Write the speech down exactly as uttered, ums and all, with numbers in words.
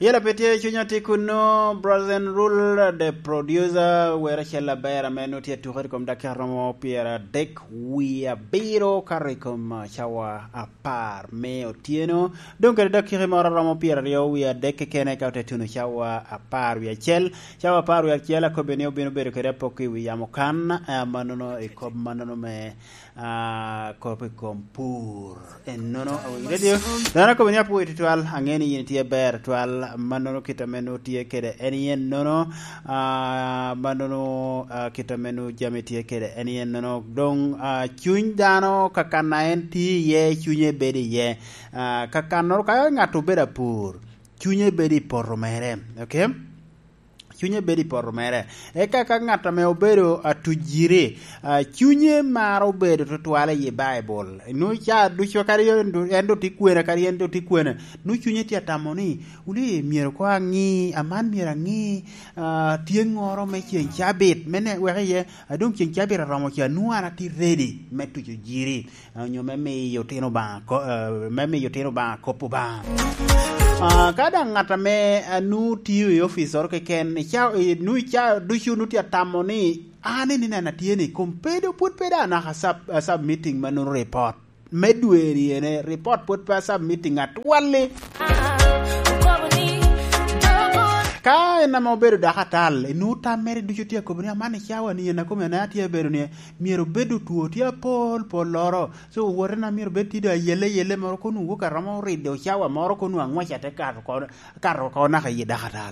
Yela pe tye cunya tye kuno, Brother Rule, the producer, wera cel aber ame nongo tye atukere i kom dakika romo pyeradek wie abiro kato i kom, ah, cawa apar me otyeno. Dong kede dakika moro romo pyeraryo wie adek kekene ka ote tuno cawa apar wie acel. Cawa apar wie acel akobbe ni obino bedo kede apoko i wi yamo kan, ah, mannono i kop mannono me, ah, kop i kom pur. Ennono, awinyo radio. Dano akobo ni apwoyo tutwal, ange ni yin itye ber twal, mannono kit ame nongo tye kede en yen nono, ah, mannono, ah, kit ame nongo jami tye kede en yen nono. Dong, ah, cuny dano kakan a en tye iye, cunye bedo iye. Ah, kakannoro ka ŋat obedo apur, cunye bedo i poto mere, okay? Cunye bedo i poto mere. Eka ka ŋat ame obedo atujiri, ah, cunye maro bedo tutwal i Baibul. Nwoŋo ca ducu kadi en do-, en do tye kwene, kadi en do tye kwene. Nwoŋo cunye tye atamo ni, "Wuli, myero koŋ aŋi, aman myero aŋi, ah, tyeŋŋoro me ceŋ cabit, me ne-, wek iye, a doŋ ceŋ cabit aromo ca, nwoŋo an atye ready me tuco jiri." Onyo me miyo otino Obaŋa ko-, eh, me miyo otino Obaŋa kop Obaŋa. Ah, ka daŋ ŋat ame, ah, nwoŋo tio i oficoro keken, ica-, i-, nwoŋo ica ducu nwoŋo tye atamo ni, "An eni neno atye ni, kom pe do pwod pe daŋ anaka sub-, ah, submitting mannono report me dwe-ni ene, report pwod pe asubmitting atwal-li." Ka en ame obedo dako atal, enwoŋo tam mere ducu tye akobo ni, "Aman i cawa ni en akome ane atye abedo ni, myero obed otwo tye apol polloro." So, owotena myero bed tye doŋ ayelle yelle moro, kono wok aromo rido cawa moro, kono ang'wec ate kato oko, kato oko naka i dakatal.